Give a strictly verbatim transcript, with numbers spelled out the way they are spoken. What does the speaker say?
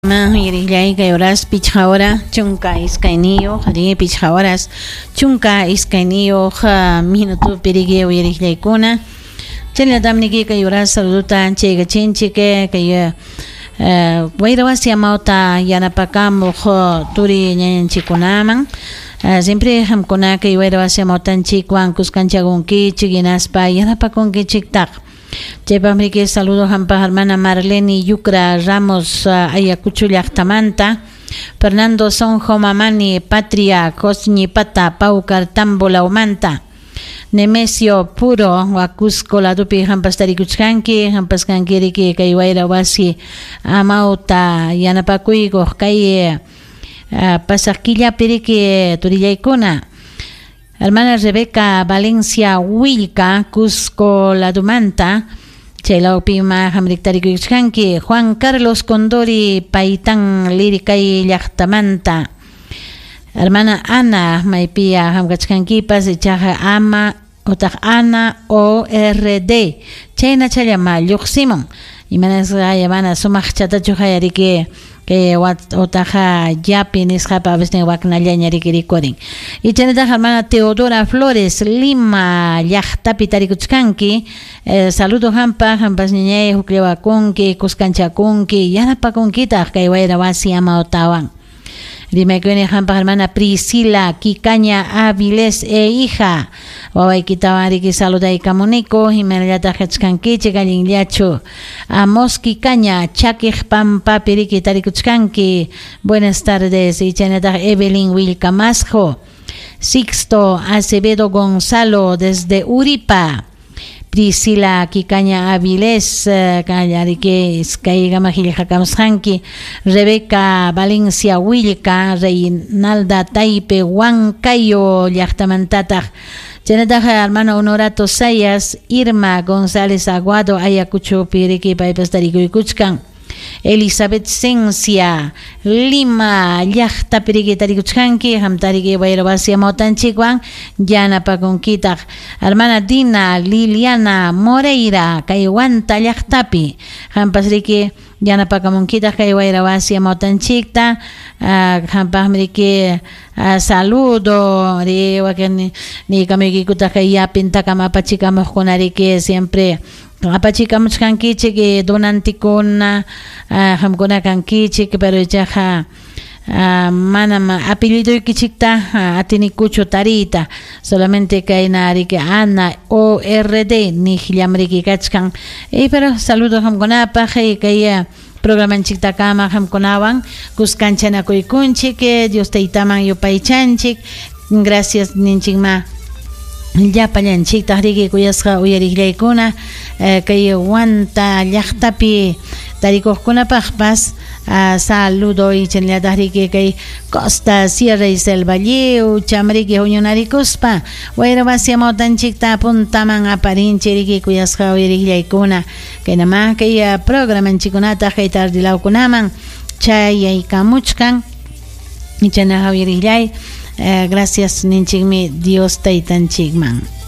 Uyariqllay kay horas pichqa hora chunka iskayniyuq ri pichqa horas chunka iskayniyuq minutupi riki uyariqllaykuna chayllatam niki kay horas saluduta chaykachinchik kay wayra wasi amawta yanapakamuq turi ñañanchikkunaman siempre qamkuna kay wayra wasi amawtanchikwan kuskanchakunkichik hinaspa yanapakunkichiktaq. Chaypaqmi riki saludo hampaq hermana Marlene Yucra Ramos Ayacucho llaqtamanta, Fernando Sonjo Mamani Patria Cosñipata Paucar Tambo lawmanta, Nemesio Puro Huacusco ladupi hampas tarikuchkanki, hampas kanki riki kay wayra wasi amawta yanapakuykuq kay pasaq killapi riki turillaykuna. Hermana Rebeca Valencia Huilca, Cusco ladumanta, chaylawpi ma hamrik tarikuykuchkanki. Juan Carlos Condori Paytán Liricay llaqtamanta. Hermana Ana maypiya hamkachkankipas ichaqa ama utaq Ana O R D chaynachallama lluqsimun. Imanasqa mana sumaq chatachu hayariki kay utaqa yapi nisqapa a veces waknallaña riki rikurin. Y chaynataq hermana Teodora Flores Lima llaqtapi tarikuchkanki, eh, saludo hampa hampas ñañay hukllawakunki kuskanchakunki yanapakunkitaq kay wayra wasi amawtawan. Rimaykuni hampaq hermana Priscila Kikaña Avilés e hija wawaykitawan riki saludaykamuniku imanallataq kachkankichik allinllachu. Amos Kikaña Chakiq pampapi riki tarikuchkanki. Buenas tardes. Y chaynataq Evelyn Wilcamasjo, Sixto Acevedo Gonzalo desde Uripa, Priscila Kikaña Avilés, kallariki iskaygama qillqakamusqanki, Rebeca Valencia Huilca, Reinalda Taipe Huancayo llaqtamantataq. Chaynataq hermano Honorato Sayas, Irma González Aguado Ayacuchopi riki paypas tarikuykuchkan. Elizabeth Sencia Lima llaqtapi riki tarikuchkanki, hamtariki wayra wasi amawtanchikwan yanapakunkitaq. Hermana Dina Liliana Moreira kay Huanta llaqtapi hampas riki yanapakamunkitaq kay wayra wasi amawtanchikta. Hampaqmi riki saludo ri wakin niykamuykikutaq kay yapintakama apachikamuqkuna riki siempre apachikamuchkankichik donantikuna qamkuna kankichik, pero ichaqa manam apelliduykichikta atinikuchu tariyta, solamente kayna riki Ana O R D niqllam riki kachkan. Y pero saludo qamkunapaq kay programanchiktakama qamkunawan kuskanchanakuykunchik, Dios taytaman yupaychanchik. Gracias ninchikma llapallanchiktaq riki kuyasqa uyariqllaykuna kay Huanta llaqtapi tarikuqkunapaqpas saludo y chaynallataq riki kay Costa Sierra y Selva lliw chamriki huñunarikuspa wayra wasi amawtanchikta puntaman aparinchik riki kuyasqa uyariqllaykuna. Kaynama kay programanchikkunataq kay tardilawkunaman chayaykamuchkan. Chaynaqa uyariqllay, gracias ninchikmi Dios taytanchikman.